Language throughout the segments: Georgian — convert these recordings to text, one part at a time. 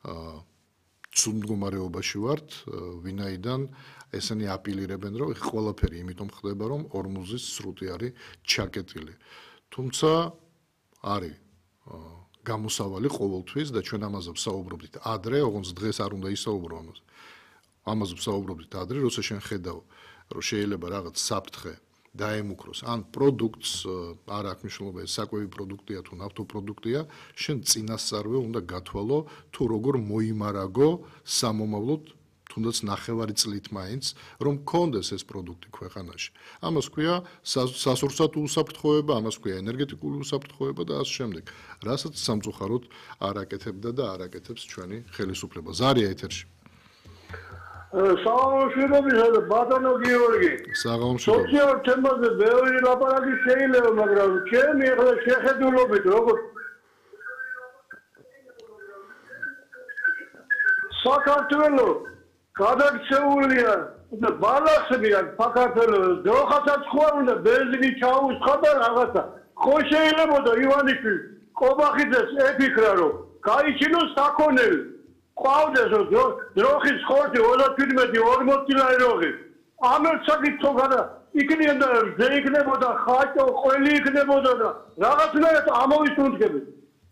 ცუდ მდგომარეობაში ვართ, ვინაიდან ესენი აპილირებენ, რომ ყველაფერი იმიტომ ხდება, რომ ორმუზის სრუტი არის ჩაკეტილი. თუმცა არის გამოსავალი ყოველთვის და ჩვენ ამაზე ვსაუბრობთ ადრე, ოღონდ დღეს არ უნდა ისაუბრო ამაზე. ამაზე ვსაუბრობთ ადრე, როცა შენ ხედავ, რომ შეიძლება რაღაც საფრთხე დაემუქროს, ან პროდუქტს არ აქვს მნიშვნელობა, ეს საკვები პროდუქტია თუ ნავთობპროდუქტია, შენ წინასწარვე უნდა გათვალო, თუ როგორ მოიმარაგო სამომავლოდ, თუნდაც ნახევარი წლით მაინც, რომ გქონდეს ეს პროდუქტი ქვეყანაში. ამას ქვია სასურსათო უსაფრთხოება, ამას ქვია ენერგეტიკული უსაფრთხოება და ასე შემდეგ. რასაც სამწუხაროდ არ აკეთებდა და არ აკეთებს ჩვენი ხელისუფლება. ზარია ეთერში. საღამოშვიდობისა ბატონო გიორგი. საღამოშვიდობა. სოციალურ თემაზე ბევრი ლაპარაკი შეიძლება, მაგრამ ჩემი ახლა შეხედულობით როგორც საქართველოს გადაქცეულია და ბალანსებიან საქართველოს დროხასაც ხوار უნდა ბენზინი ჩაუსხა და რაღაცა. ხო შეიძლებოდა ივანიშვილი ყობახიძეს ეთიქრა რომ გაიჩინოს საქონელი. ყავდეს დროხის ხორცი 37-40 ლარი როღი. ამერც საკითხო გადა იქნებოდა ზეიქნებოდა ხაჭო ყველი იქნებოდა და რაღაცნაირად ამოვისუნთქებით.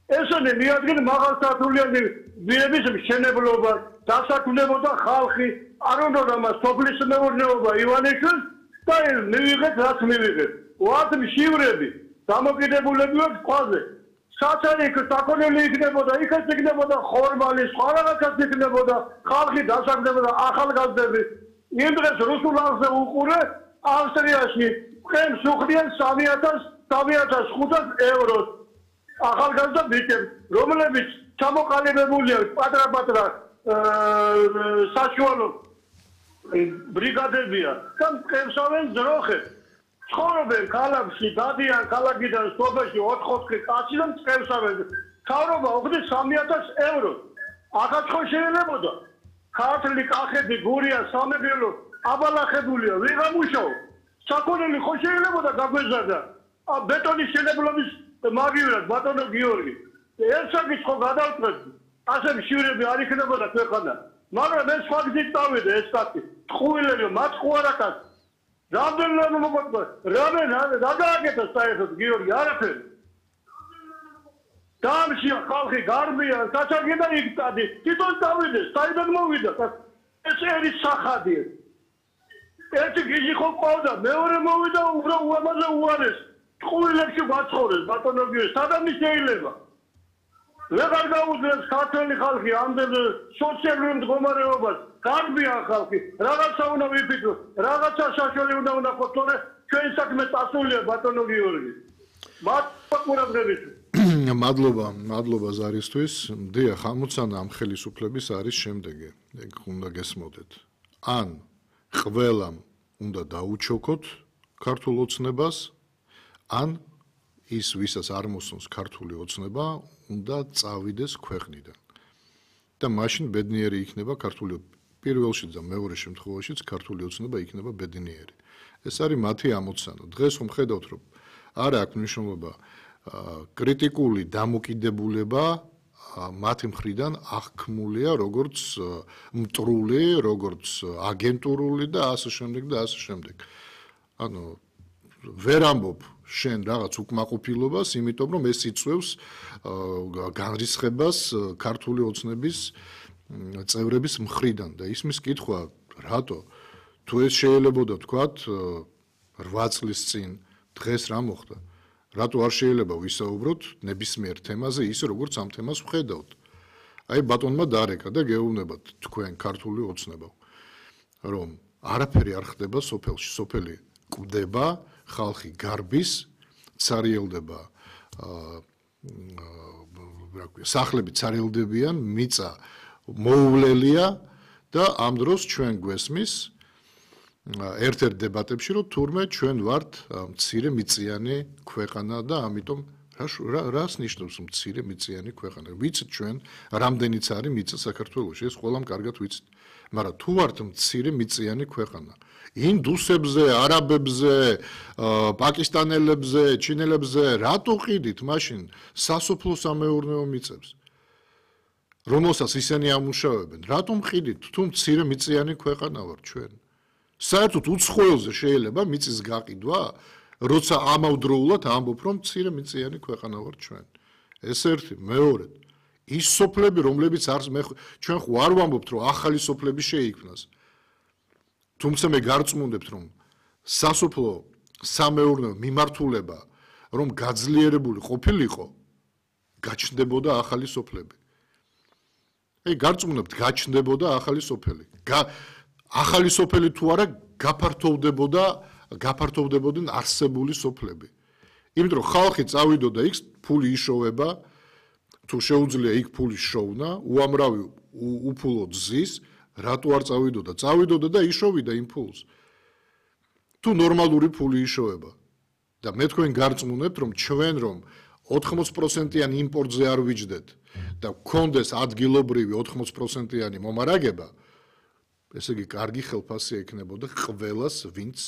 ესენი მიადგენ მაღალსართულიანი ვირების მშენებლობა, დასაქმდებოდა ხალხი, არ უნდა მას სოფლის მეურნეობა ივანიშვილს და მივიღეთ რაც მივიღეთ. ვართ მშივრები, დამოკიდებულები ვართ ქვაზე. საწერიო საქონელი იქნებოდა, იქაც იქნებოდა ხორმალი, სხვა რაღაცაც იქნებოდა, ხალხი დასაქმდებოდა, ახალგაზრდები. იმ დღეს რუსულ არზე უყურე ავსტრიაში ყემს უხდიან 3,500 ევროს. ახალგაზრდა ბიჭებს, რომლებიც ჩამოყალიბებულია პატრა-პატრა საშუალო ბრიგადებია და ყემსავენ ძროხებს. ცხოვრობენ ქალაქში, დადიან ქალაქიდან სოფელში 4-4 კაცი და ყემსავენ. თავრობა უხდის 3,000 ევროს. ახაც ხო შეიძლებოდა. ქართლი, კახეთი, გურია, სამეგრელო აბალახებულია, ვიღა მუშაობ. საქონელი ხო შეიძლებოდა გაგვეზარდა. ბეტონის შენებლობის მაგივრად ბატონო გიორგი. ეს საკითხი გადავწყვეტ. ასე მშივრები არ იქნებოდა ქვეყანა. მაგრამ ეს ფაქტით დავიდე ეს საკითხი. ტყუილები მათ ყوارაკას. რამდენიმე მოგვიყვება. რა გააკეთა საერთოდ გიორგი არაფერი. დამში ხალხი გარბია, საჩაგედა იგტადი. თვითონ დავიდე, საიდან მოვიდა? ეს ერის სახადია. ერთი გიჟი ხო ყავდა, მეორე მოვიდა უამაზე უარეს. ტყუილებში ვაცხოვრეს ბატონო გიორგი, სადამი შეიძლება. ვეღარ გაუძლებს ქართველი ხალხი ამდენ სოციალურ მდგომარეობას, გარბიან ხალხი, რაღაცა უნდა ვიფიქროთ, რაღაცა საშუალო უნდა ხოთორე, ჩვენ საქმე წასულია ბატონო გიორგი. მადლობა ზარისთვის. დიახ, ამოცანა ამ ხელისუფლების არის შემდეგი. ეგ უნდა გესმოდეთ. ან ყველამ უნდა დაუჩოქოთ ქართულ ოცნებას, ან ის ვისაც არ მოსწონს ქართული ოცნება, უნდა წავიდეს ქვეყნიდან. და მაშინ ბედნიერი იქნება ქართული პირველში და მეორე შემთხვევაშიც ქართული ოცნება იქნება ბედნიერი. ეს არის მათი ამოცანა. დღეს რომ ხედავთ, რომ არ აქვს მნიშვნელობა კრიტიკული დამოკიდებულება მათი მხრიდან აღქმულია როგორც მტრული, როგორც აგენტურული და ასე შემდეგ და ასე შემდეგ. ანუ ვერ ამბობ შენ რაღაც უკმაყოფილებას, იმიტომ რომ ეს იწვევს განრისხებას ქართული ოცნების წევრების მხრიდან და ისმის კითხვა, რატო? თუ ეს შეიძლებოდა თქვათ 8 წლის წინ, დღეს რა მოხდა? რატო არ შეიძლება ვისაუბროთ ნებისმიერ თემაზე ისე როგორც ამ თემას ვხედავთ? აი ბატონმა დარეკა და გეუბნებათ თქვენ ქართული ოცნება, რომ არაფერი არ ხდება სოფელში, სოფელი კვდება, ხალხი გარბის, ცარიელდება, სახლები ცარიელდებიან, მიწა მოუვლელია და ამ დროს ჩვენ გვესმის ერთ-ერთ დებატებში, რომ თურმე ჩვენ ვართ მცირე მიწიანი ქვეყანა და ამიტომ რას ნიშნავს მცირე მიწიანი ქვეყანა? ვიცით ჩვენ რამდენიც არის მიწა საქართველოში, ეს ყველამ კარგად ვიცით. მაგრამ თუ ვართ მცირე მიწიანი ქვეყანა, ინდუსებზე, არაბებზე, პაკისტანელებზე, ჩინელებზე, რატო ყიდით მაშინ სასოფლო სამეურნეო მიწებს? რომელსაც ისინი ამუშავებენ, რატომ ყიდით? თუ მცირე მიწიანი ქვეყანა ვარ ჩვენ. საერთოდ უცხოელზე შეიძლება მიწის გაყიდვა, როცა ამავდროულად ამბობ, რომ მცირე მიწიანი ქვეყანა ვარ ჩვენ. ეს ერთი, მეორედ, ის სოფლები, რომლებიც არის ჩვენ ხო არ ვამბობთ, რომ ახალი სოფლები შეიქმნას. თუმცა მე გარწმუნდებთ, რომ სასოფლო სამეურნეო მიმართულება, რომ გაძლიერებული ყოფილიყო, გაჩნდებოდა ახალი სოფლები. გარწმუნებთ, გაჩნდებოდა ახალი სოფელი. ახალი სოფელი თუ არა გაფართოვდებოდნენ არსებული სოფლები. იმიტომ რომ ხალხი წავიდოდა იქ, ფული იშოვება, თუ შეუძლია იქ ფული შოვნა, უამრავი უფულოდ ზის, რატო არ წავიდოდა? წავიდოდა და იშოვიდა იმ ფულს. თუ ნორმალური ფული იშოვება და მე თქვენ გარწმუნებთ, რომ ჩვენ რომ 80%-იან იმპორტზე არ ვიჯდეთ და გქონდეს ადგილობრივი 80%-იანი მომარაგება, ესე იგი კარგი ხელფასი ექნებოდა ყველას, ვინც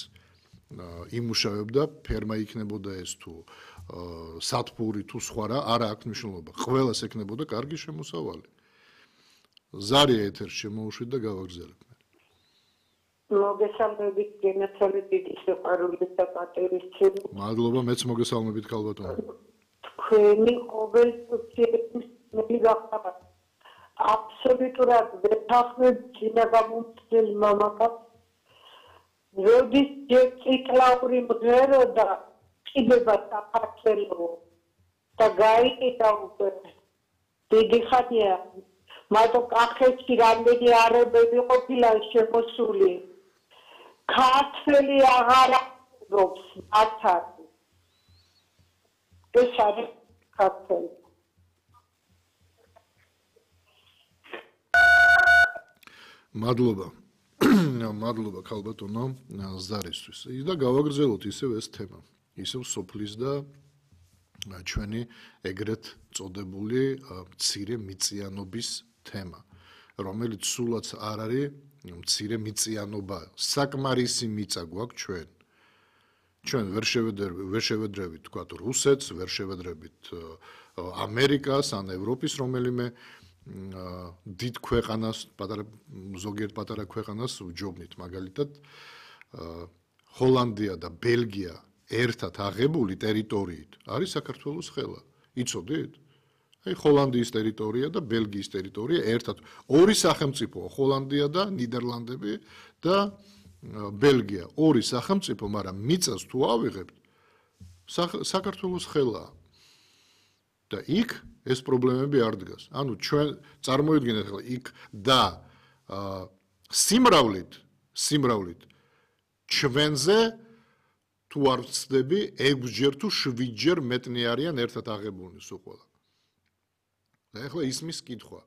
იმუშავებდა, ფერმა იქნებოდა ეს თუ სათბური თუ სხვა რა, არა აქვს მნიშვნელობა. ყველას ექნებოდა კარგი შემოსავალი. ზარია ეთერში შემოუშვით და გავაგრძელებ. მოგესალმებით, გენაცვალე დიდი სიყვარული და პატივისცემა. მადლობა, მეც მოგესალმებით ქალბატონო. თქვენი ყოველთვის მიგახსოვთ. აბსოლუტურად ვეთანხმებ წინაგამომცდელ მამაკაცს. როდის წითლაური მღეროდა ყიდება საქართველო და გაიყიდა უკვე დიდი ხანია. მარტო კახეთში რამდენი არაბები ყოფილა შემოსული. ქართველი აღარ აქვს მათთან. ეს არის ქართველი. მადლობა. მადლობა ქალბატონო ზარისთვის. და გავაგრძელოთ ისევ ეს თემა. ისევ სოფლის და ჩვენი ეგრეთ წოდებული მცირე მიწიანობის თემა, რომელიც სულაც არ არის მცირე მიწიანობა, საკმარისი მიწა გვაქვს ჩვენ. ჩვენ ვერ შევედრებით თქვა რუსეთს, ვერ შევედრებით ამერიკას ან ევროპის რომელიმე დიდ ქვეყანას, ზოგიერთ პატარა ქვეყანას ვჯობნით, მაგალითად ჰოლანდია და ბელგია ერთად აღებული ტერიტორიით არის საქართველოს ხელა. იცოდით? აი ჰოლანდიის ტერიტორია და ბელგიის ტერიტორია ერთად ორი სახელმწიფოა, ჰოლანდია და ნიდერლანდები და ბელგია. ორი სახელმწიფო, მაგრამ მიწას თუ ავიღებთ, საქართველოს ხელაა. და იქ ეს პრობლემები არ დგას. ანუ ჩვენ წარმოიდგინეთ ახლა იქ და სიმრავლით ჩვენზე თუ არ ვწდები 6-ჯერ თუ 7-ჯერ მეტნი არიან ერთად აღებულნი სულ ყველა. და ახლა ისმის კითხვა,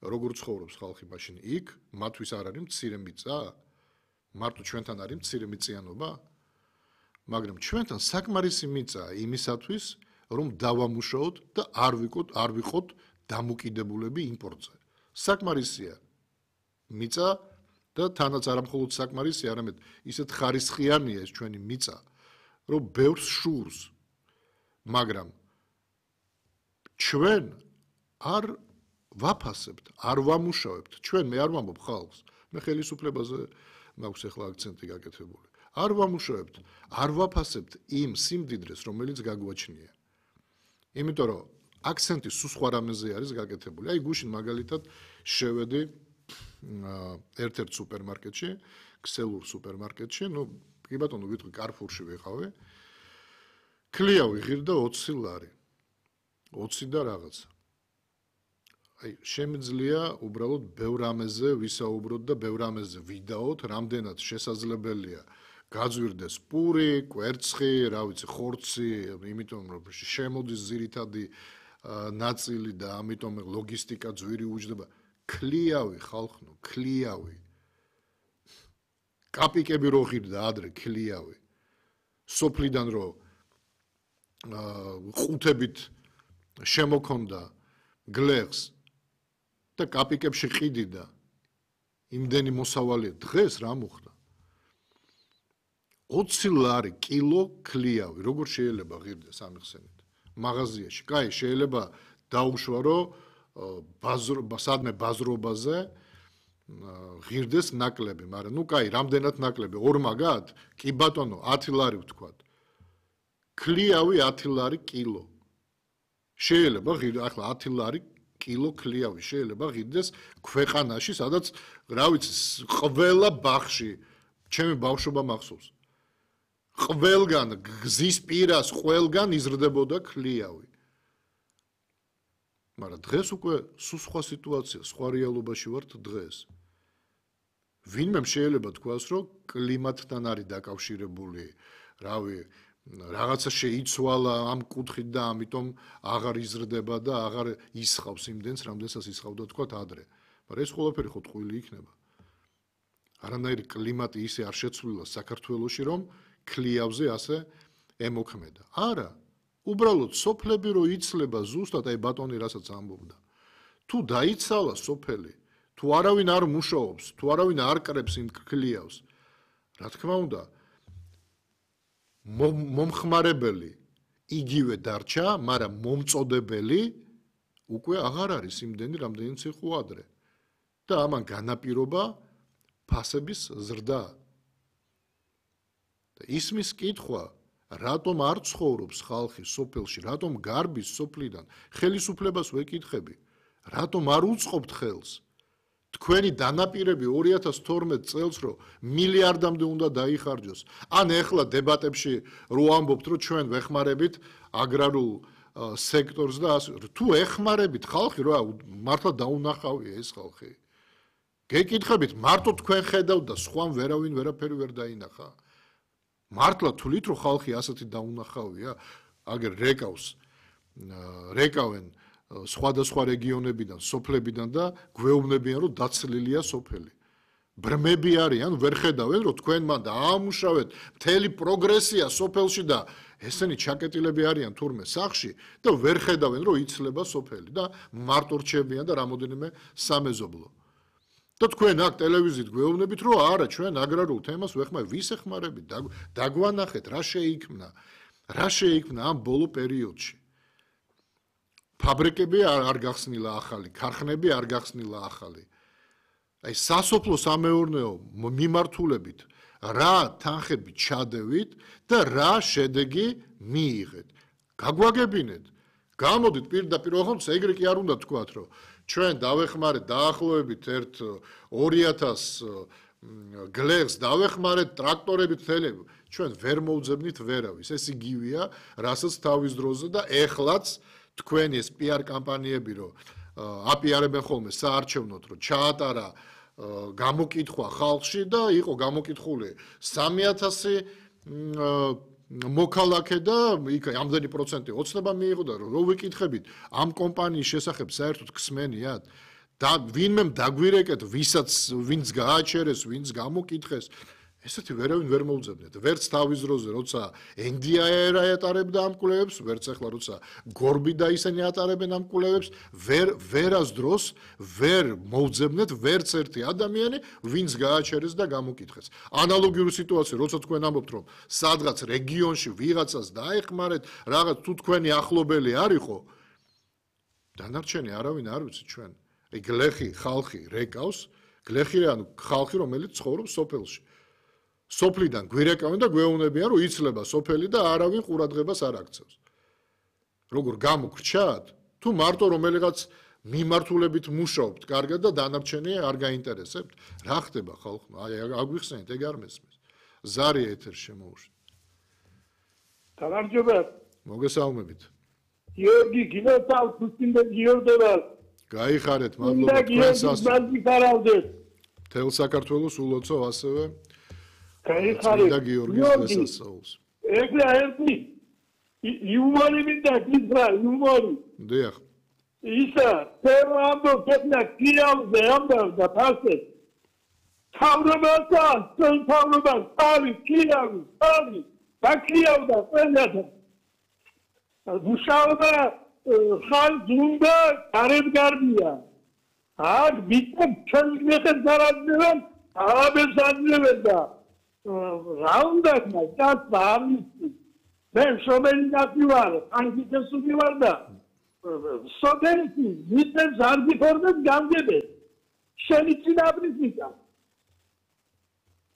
როგორ ცხოვრობს ხალხი მაშინ იქ, მათთვის არ არის მცირე მიწა? მარტო ჩვენთან არის მცირე მიწიანობა? მაგრამ ჩვენთან საკმარისი მიწაა იმისათვის, რომ დავამუშაოთ და არ ვიყოთ დამოკიდებულები იმპორტზე. საკმარისია მიწა და თანაც არა მხოლოდ საკმარისი, არამედ ისეთ ხარისხიანია ეს ჩვენი მიწა, რომ ბევრს შურს. მაგრამ ჩვენ არ ვაფასებთ, არ ვამუშავებთ. ჩვენ მე არ ვამბობ ხალხს, მე ხელისუფლებაზე მაქვს ახლა აქცენტი გაკეთებული. არ ვამუშავებთ, არ ვაფასებთ იმ სიმდიდრეს, რომელიც გაგვაჩნია. იმიტომ რომ აქცენტი სულ სხვა რამეზე არის გაკეთებული. აი გუშინ მაგალითად შევედი ერთ-ერთ სუპერმარკეტში, ქსელურ სუპერმარკეტში, კი ბატონო, ვიტყვი კარფურში ვიყავი. ქლია ვიღირდა 20 ლარი. 20 და რაღაცა. აი შემიძლია უბრალოდ ბევრ რამეზე ვისაუბროთ და ბევრ რამეზე ვიდაოთ, რამდენად შესაძლებელია გაძვირდეს პური, კვერცხი, რა ვიცი, ხორცი, იმიტომ რომ შემოდის ძირითადი ნაწილი და ამიტომ ლოგისტიკა ძვირი უჯდება. ქლიავი ხალხო, ქლიავი. კაპიკები რო ღირდა ადრე ქლიავი. სოფლიდან რო ყუთებით შემოქონდა გლეხს და კაპიკებში ყიდიდა იმდენი მოსავალი დღეს რა მოხდა? 20 ლარი კილო ქლიავი, როგორ შეიძლება ღირდეს ამიხსენით? მაღაზიაში, კაი, შეიძლება დაუშვა, რომ სადმე ბაზრობაზე ღირდეს ნაკლები, მაგრამ ნუ კაი, რამდენად ნაკლები? 2 მაგათ? კი ბატონო, 10 ლარი ვთქვათ. ქლიავი 10 ლარი კილო. შეიძლება ახლა 10 ლარი კილო ქლიავი შეიძლება ღირდეს ქვეყანაში, სადაც რა ვიცი, ყველა ბაღში, ჩემი ბავშვობა მახსოვს. ყველგან გზის პირას ყველგან იზრდებოდა ქლიავი. მაგრამ დღეს უკვე სულ სხვა სიტუაცია, სხვა რეალობაში ვართ დღეს. ვინმე შეიძლება თქვას, რომ კლიმატთან არის დაკავშირებული, რავი, რაღაცა შეიცვალა ამ კუთხით და ამიტომ აღარ იზრდება და აღარ ისხავს იმდენს, რამდენსაც ისხავდა თქვა ადრე. მაგრამ ეს ყველაფერი ხო ტყუილი იქნება. არანაირი კლიმატი ისე არ შეცვლილა საქართველოში, რომ ქლიავზე ასე ემოქმედა. არა, უბრალოდ სოფლები რო იცლება ზუსტად აი ბატონი რასაც ამბობდა. თუ დაიცალა სოფელი, თუ არავინ არ მუშაობს, თუ არავინ არ კრებს იმ ქლიავს, რა თქმა უნდა, მომხმარებელი იგივე დარჩა, მაგრამ მომწოდებელი უკვე აღარ არის იმდენი, რამდენიც იყო ადრე. და ამან განაპირობა ფასების ზრდა. და ისმის კითხვა, რატომ არ ცხოვრობს ხალხი სოფელში, რატომ გარბის სოფლიდან, ხელისუფლებას ვეკითხები, რატომ არ უწყობთ ხელს? თქვენი დანაპირები 2012 წელს რო მილიარდამდე უნდა დაიხარჯოს. ან ეხლა დებატებში რო ამბობთ, რომ ჩვენ ვეხმარებით აგრარულ სექტორს და თუ ეხმარებით ხალხი რა მართლა დაუნახავია ეს ხალხი. გეკითხებით, მარტო თქვენ ხედავთ და სხვამ ვერავინ ვერაფერი ვერ დაინახა. მართლა თulit რო ხალხი ასეთი დაუნახავია, აგერ რეკავენ სხვადასხვა რეგიონებიდან, სოფლებიდან და გვეუბნებიან, რომ დაცლილია სოფელი. ბრმები არიან, ვერ ხედავენ, რომ თქვენ მან დაამუშავეთ მთელი პროგრესია სოფელში და ესენი ჩაკეტილები არიან თურმე სახში და ვერ ხედავენ, რომ იცლება სოფელი და მარტო რჩებიან და რამოდენიმე სამეზობლო. და თქვენ აქ ტელევიზიით გვეუბნებით, რომ არა, ჩვენ აგრარულ თემას ვეხმარებით, ვის ეხმარებით? დაგვანახეთ, რა შეიქმნა ამ ბოლო პერიოდში. ფაბრიკები არ გახსნილა ახალი, ქარხნები არ გახსნილა ახალი. აი სასოფლო სამეურნეო მიმართულებით რა თანხები ჩადევით და რა შედეგი მიიღეთ. გაგვაგებინეთ. გამოდით პირდაპირ, ოღონდ ეგრე კი არ უნდა თქვათ, რომ ჩვენ დავეხმარეთ დაახლოებით 2000 გლეხს დავეხმარეთ ტრაქტორებით თელები. ჩვენ ვერ მოვძებნით ვერავის. ეს იგივეა, რასაც თავის დროზე და ეხლაც თქვენი ეს PR კამპანიები რო აპიარებენ ხოლმე საარჩევნოდ რო ჩაატარა გამოკითხვა ხალხში და იყო გამოკითხული 3000 მოქალაქე და იქ ამდენი პროცენტი ოცნება მიიღო და რო ვიკითხებით ამ კომპანიის შესახებ საერთოდ ქსმენიათ და ვინმე დაგვირეკეთ ვინც გააჩერეს ვინც გამოკითხეს ესეთი ვერავინ ვერ მოვძებნეთ ვერც თავის დროზე როცა NDI-ი ატარებდა ამ კვლევებს ვერც ახლა როცა გორბი და ისინი ატარებენ ამ კვლევებს ვერას დროს ვერ მოვძებნეთ ვერც ერთი ადამიანი ვინც გააჩერეს და გამოკითხეს ანალოგიური სიტუაცია როცა თქვენ ამბობთ რომ სადღაც რეგიონში ვიღაცას დაეხმარეთ რაღაც თუ თქვენი ახლობელი არისო დანარჩენი არავინ არ ვიცი ჩვენ აი გლეხი ხალხი რეკავს გლეხი ანუ ხალხი რომელიც ცხოვრობს სოფელში სოფლიდან გვირეკავენ და გვეუბნებიან რომ იცლება სოფელი და არავინ ყურადღებას არ აქცევს. როგორ გამოგრჩათ? თუ მარტო რომელიღაც მიმართულებით მუშაობთ, კარგად და დანარჩენი არ გაინტერესებთ, რა ხდება ხალხმა? აი აგვიხსენეთ, ეგ არ მესმის. ზარი ეთერ შემოუშვით. გამარჯობა. მოგესალმებით. გიორგი გინოთალ თუსინდა გიორდება. გაიხარეთ, მადლობა თქვენსაც. თელ საქართველოს ულოცო ასევე გაიხარეთ და გიორგის დასასრულს. ეგრე ერთი იუმორი მინდა გიძრა იუმორი. დიახ. ისა ფერამბო კეთნა კიავზე ამბავდა ფასე. თავრობასა, თავრობა, თავი კიავი, თავი. ბაკიავდა ყველათა. მუშაობა ხალ ზუნდა გარებგარდია. აქ ბიტა ჩანგლეხე ზარაძევან აბესადნებდა. რა უნდა გასწავლი მე შობელი დაწვარ ანტიკესული ვარ და სოფელი მიწებს არ გიფორმებს გამგებენ შენი წინაპრის მიწა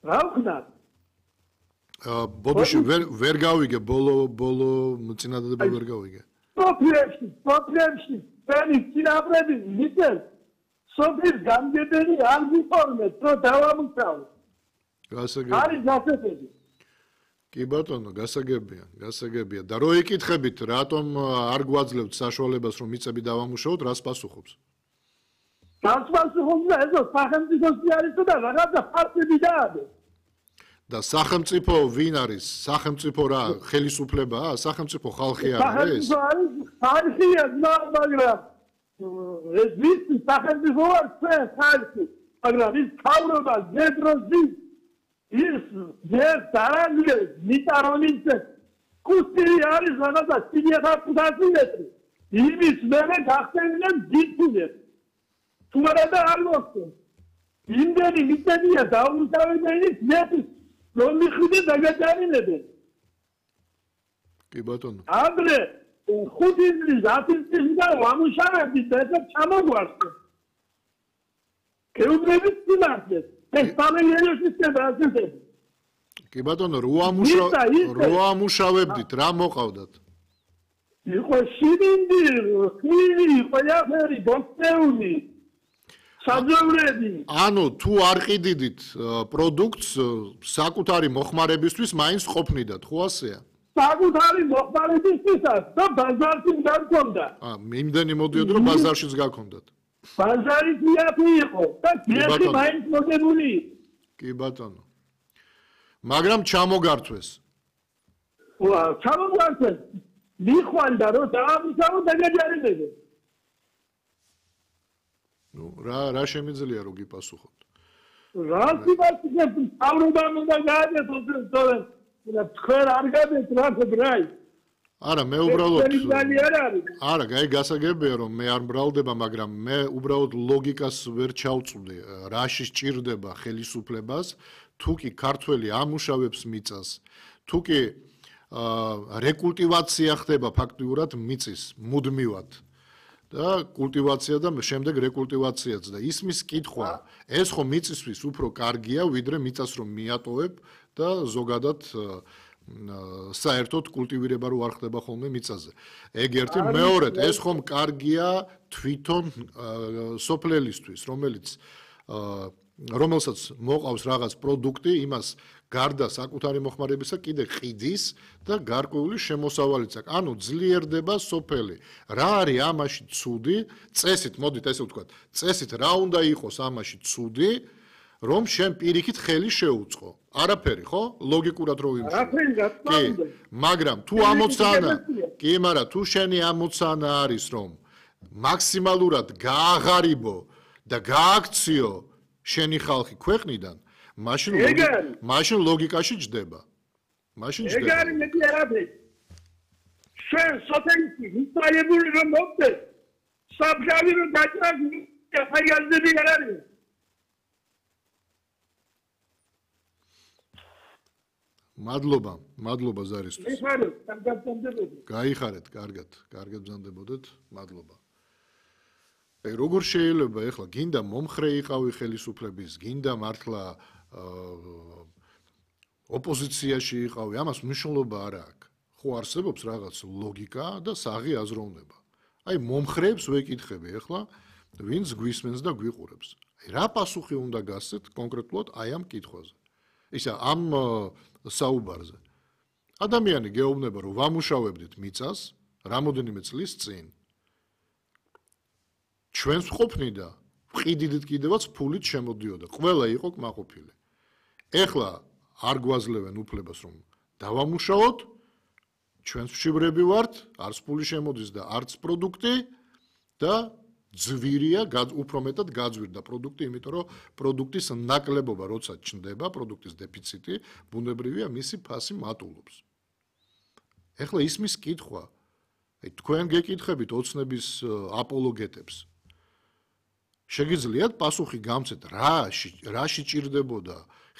რა ვქნა ბოდიში ვერ გავიგე ბოლო წინადადება ვერ გავიგე სოფლებში შენი წინაპრების მიწებს სოფლის გამგებელი არ გიფორმებს რომ დავამუშავოთ გასაგებია არის გასაგებია კი ბატონო გასაგებია და რო იკითხებით რატომ არ გვაძლევთ საშუალებას რომ მიწები დავამუშავოთ რას პასუხობს პასუხობს და ეს სახელმწიფოს არის და რაღაცა ფაქტები დაადეს და სახელმწიფო ვინ არის სახელმწიფო რა ხელისუფლებაა სახელმწიფო ხალხი არის ხალხია მაგრამ ეს ვის სახელმწიფო არ ხალხი მაგრამ ის თავრობა ზედროზი ის ზერტარანლე მიტარონინცე კუსტი არის რაღაცა 300 მეტრი იმის მერე გახსენდნენ დიდწილად თუმცა და არ მოხდა იმდენი მიწებია დაუმთავრებელი მეტი რომ მიხვიდე დაგაჭარინებენ კი ბატონო ამდრე 5 წლის 10 წლის და ვამუშავებდი და ეს ჩამოგვარდა კეუბრების სიმართლე ეს სამელიო სისტემა ასეთები კი ბატონო რო ამუშავებდით რა მოყავდათ იყო შიმინდი ხილი ყველაფერი ბოქცეული საძოვრები ანუ თუ არ ყიდიდით პროდუქტს საკუთარი მოხმარებისთვის მაინც ყოფნიდათ ხო ასეა საკუთარი მოხმარებისთვისაც და ბაზარში გაქონდა იმდენი მოდიოდ რომ ბაზარშიც გაქონდათ ბაზარიც იაფი იყო და გეხი მაინც მოგებული კი ბატონო მაგრამ ჩამოგართვეს ჩამოგართვეს მიხვალდა რომ დაამუშავო დაგაჯარებდნენ ნუ რა შემიძლია რომ გიპასუხოთ რა გიპასუხოთ თავრობამ უნდა გააკეთოს თორემ თქვენ არ გადეთ რა ბრაი არა მე უბრალოდ არა გაი გასაგებია რომ მე არ მრავლდება მაგრამ მე უბრალოდ ლოგიკას ვერ ჩავწვდი რაში სჭირდება ხელისუფლებას თუ კი ქართველი ამუშავებს მიწას თუ კი რეკულტივაცია ხდება ფაქტიურად მიწის მუდმივად და კულტივაცია და შემდეგ რეკულტივაციაც და ისმის კითხვა ეს ხო მიწისთვის უფრო კარგია ვიდრე მიწას რომ მიატოვებ და ზოგადად საერთოდ კულტივირება რო არ ხდება ხოლმე მიწაზე. ეგ ერთი მეორედ ეს ხომ კარგია თვითონ სოფლელისთვის, რომელსაც მოყავს რაღაც პროდუქტი, იმას გარდა საკუთარი მოხმარებისა კიდე ყიდის და გარკვეული შემოსავალიც აქვს. ანუ ძლიერდება სოფელი. რა არის ამაში ცუდი? წესით, მოდით ესე ვთქვათ, წესით რა უნდა იყოს ამაში ცუდი? რომ შენ პირიქით ხელი შეუწყო. არაფერი, ხო? ლოგიკურად რო ვიმუშავო. კი, მაგრამ თუ ამოცანა, კი, მაგრამ თუ შენი ამოცანა არის, რომ მაქსიმალურად გააღარიბო და გააქციო შენი ხალხი ქვეყნიდან, მაშინ ლოგიკაში ჯდება. მაშინ ჯდება. ეგ არის მეტი არაფერი. შენ სოფელში მიწაებული რომ მოხდეს, საფშავი რომ დაჭრას, ხაიაზები არ არის. მადლობა ზარისთვის. გაიხარეთ, კარგად ბრძანდებოდეთ. მადლობა. როგორ შეიძლება ეხლა გინდა მომხრე იყავი ხელისუფლების, გინდა მართლა ოპოზიციაში იყავი, ამას მნიშვნელობა არ აქვს. ხო არსებობს რაღაც ლოგიკა და საღი აზროვნება. აი მომხრეებს ვეკითხები ეხლა, ვინც გვისმენს და გვიყურებს. აი რა პასუხი უნდა გასცეთ კონკრეტულად აი ამ კითხვაზე. ისა ამ საუბარზე. ადამიანი გეუბნება რომ ვამუშავებდით მიწას რამოდენიმე წლის წინ. ჩვენს ყოფნიდა ვყიდიდით კიდევაც ფულით შემოდიოდა. ყველა იყო კმაყოფილი. ეხლა არ გვაძლევენ უფლებას რომ დავამუშავოთ. ჩვენს მშივრები ვართ, არც ფული შემოდის და არც პროდუქტი და ძვირია, უფრო მეტად გაძვირდა პროდუქტი, იმიტომ რომ პროდუქტის ნაკლებობა როცა ჩნდება, პროდუქტის დეფიციტი, ბუნებრივია მისი ფასი მატულობს. ეხლა ისმის კითხვა, აი თქვენ გეკითხებით ოცნების აპოლოგეტებს. შეგიძლიათ პასუხი გამცეთ, რაში ჭირდებოდა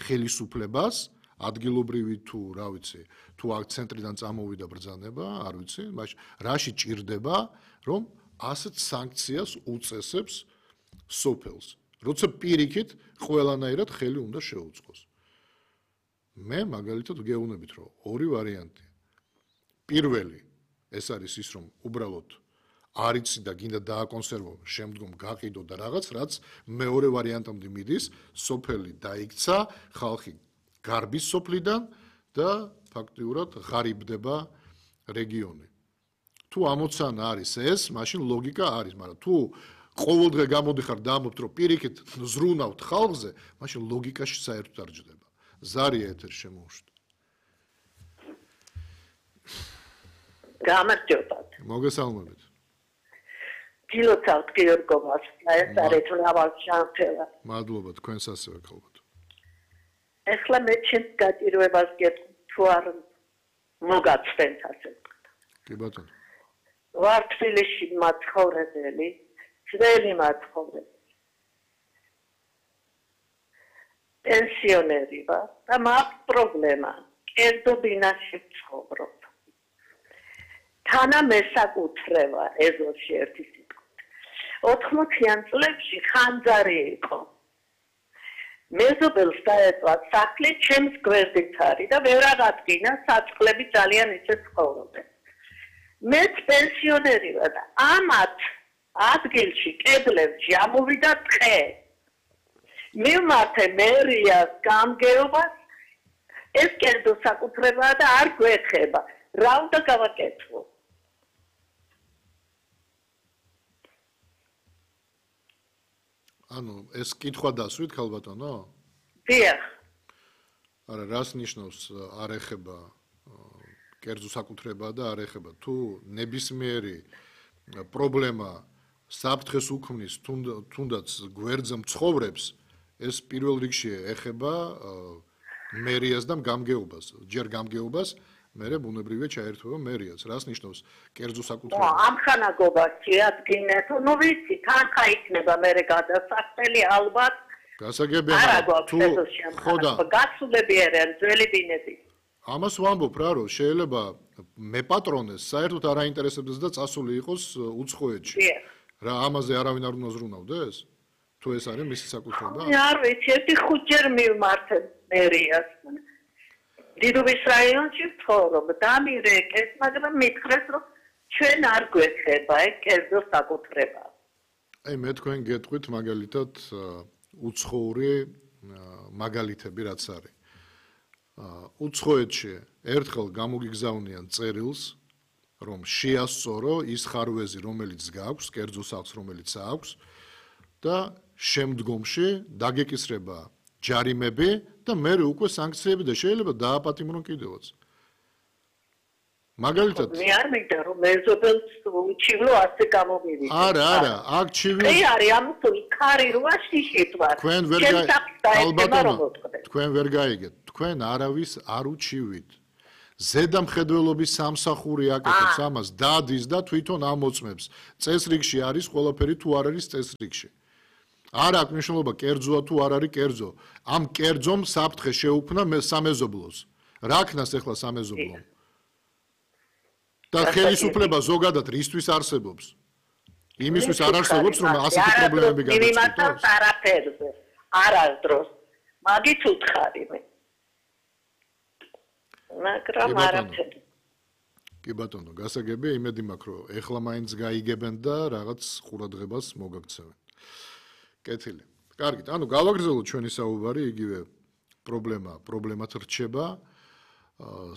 ხელისუფლებას, ადგილობრივი თუ, რა ვიცი, თუ აქ ცენტრიდან წამოვიდა ბრძანება, არ ვიცი, მაგრამ რაში ჭირდება, რომ ასეთ სანქციას უწესებს სოფელს, როცა პირიქით ყველანაირად ხელი უნდა შეუწყოს. მე მაგალითად გეუბნებით, რომ ორი ვარიანტია. პირველი ეს არის ის, რომ უბრალოდ არ იცი და გინდა დააკონსერვო, შემდგომ გაყიდო და რაღაც, რაც მეორე ვარიანტამდე მიდის, სოფელი დაიქცა, ხალხი გარბის სოფლიდან და ფაქტიურად ღარიბდება რეგიონი. თუ ამოცანა არის ეს, მაშინ ლოგიკა არის, მაგრამ თუ ყოველდღე გამოდიხარ და ამბობთ, რომ პირიქით ზრუნავთ ხალხზე, მაშინ ლოგიკაში საერთოდ არ ჯდება. ზარია ეთერში შემოუშვით. გამარჯობათ. მოგესალმებით. გილოცავთ გიორგომას, ეს არის ლავალ შანთელა. მადლობა თქვენს ასევე ქალბატონო. ეხლა მე ჩემს გაჭირვებას გეტყვი, თუ არ მოგაცდენთ ასე. კი ბატონო. ვარ თბილისში მაცხოვრებელი, ძველი მაცხოვრებელი. პენსიონერი ვარ და მაქვს პრობლემა. კერძო ბინაში ვცხოვრობ. თანა მესაკუთრება ეზოში ერთი სიტყვით. 80-იან წლებში ხანძარი იყო. მეზობელს დაეწვა სახლი ჩემს გვერდით არის და ვერ აღადგინა საწყლები ძალიან ისე ცხოვრობენ. მეც პენსიონერი ვარ და ამათ ადგილში კედლებში ამოვიდა ტყე. მივმართე მერიას გამგეობას ეს კერძო საკუთრებაა და არ გვეხება. რა უნდა გავაკეთო? ანუ ეს კითხვა დასვით ქალბატონო? დიახ. არა, რას ნიშნავს არ ეხება კერძო საკუთრება და არ ეხება? თუ ნებისმიერი პრობლემა საფრთხეს უქმნის თუნდაც გვერდზე მცხოვრებს, ეს პირველ რიგში ეხება მერიას და გამგეობას. ჯერ გამგეობას, მერე ბუნებრივია ჩაერთვება მერიას. რას ნიშნავს კერძო საკუთრება? ამხანაგობაში ადგინე თუ ნუ ვიცი, თანხა იქნება მერე გადასახდელი ალბათ. გასაგებია, თუ ხოდა გასულები არიან ძველი ბინები. ამას ვამბობ რა, რომ შეიძლება მეპატრონეს საერთოდ არ აინტერესებდეს და წასული იყოს უცხოეთში. რა ამაზე არავინ არ უნდა ზრუნავდეს? თუ ეს არის მისი საკუთრება? არ ვიცი, ერთი ხუთჯერ მივმართე მერიას. დიდუბის რაიონში ვცხოვრობ, დამირეკეს, მაგრამ მითხრეს, რომ ჩვენ არ გვეხება ეს კერძო საკუთრება. აი მე თქვენ გეტყვით მაგალითად უცხოური მაგალითები რაც არის. უცხოეთში ერთხელ გამოგიგზავნიან წერილს, რომ შეასწორო ის ხარვეზი, რომელიც გააქვს, კერძო სახლს, რომელიც აქვს და შემდგომში დაგეკისრება ჯარიმები და მე უკვე სანქციები და შეიძლება დააპატიმრონ კიდევაც. მაგალითად მე არ მინდა რომ მეზობელს უჩივლო ასე გამომივიდეს. არა, აქ ჩივი. მე არის ამიტომ ქარი რუაში შეტვა. თქვენ ვერ გაიგეთ. თქვენ არავის არ უჩივით. ზედამხედველობის სამსახური აკეთებს ამას, დადის და თვითონ ამოწმებს. წესრიგში არის ყველაფერი თუ არ არის წესრიგში. არ აქვს მნიშვნელობა კერძოა თუ არ არის კერძო. ამ კერძომ საფრთხე შეუქმნა სამეზობლოს. რა ქნას ახლა სამეზობლომ? და ხელისუფლება ზოგადად რისთვის არსებობს? იმისთვის არ არსებობს, რომ ასეთი პრობლემები გადაწყვეტოს. არაფერზე. არასდროს. მაგით უთხარი მე. მაგრამ არაფერი. კი ბატონო, გასაგებია, იმედი მაქვს, რომ ეხლა მაინც გაიგებენ და რაღაც ყურადღებას მოგაქცევენ. კეთილი. კარგით, ანუ გავაგრძელოთ ჩვენი საუბარი, იგივე პრობლემათ რჩება.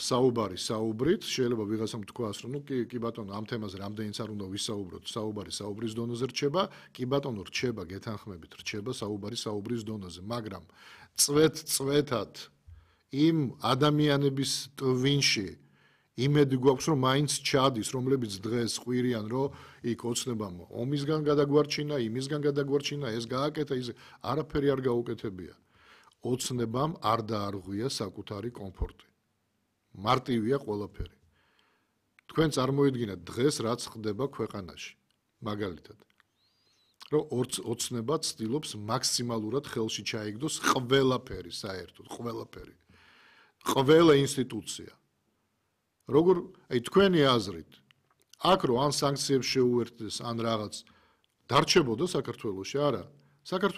საუბარი საუბრით, შეიძლება ვიღაცამ თქვას, რომ ნუ კი ბატონო, ამ თემაზე რამდენიც არ უნდა ვისაუბროთ, საუბარი საუბრის დონეზე რჩება, კი ბატონო, რჩება, გეთანხმებით, რჩება საუბარი საუბრის დონეზე, მაგრამ წვეთად იმ ადამიანების ტვინში იმედი გვაქვს, რომ მაინც ჩადის, რომლებიც დღეს ყვირიან, რომ იქ ოცნებამ ომისგან გადაგვარჩინა, იმისგან გადაგვარჩინა, ეს გააკეთა, ის არაფერი არ გაუკეთებია. ოცნებამ არ დაარღვია საკუთარი კომფორტი. მარტივია ყველაფერი. თქვენ წარმოიდგინეთ დღეს რაც ხდება ქვეყანაში. მაგალითად, რომ ოცნება ცდილობს მაქსიმალურად ხელში ჩაიგდოს ყველაფერი, საერთოდ ყველაფერი. ყველა ინსტიტუცია. როგორ, აი თქვენი აზრით, აქ რო ან სანქციებს შეუერთდეს, ან რაღაც დარჩებოდა საქართველოში, არა. საქართველოს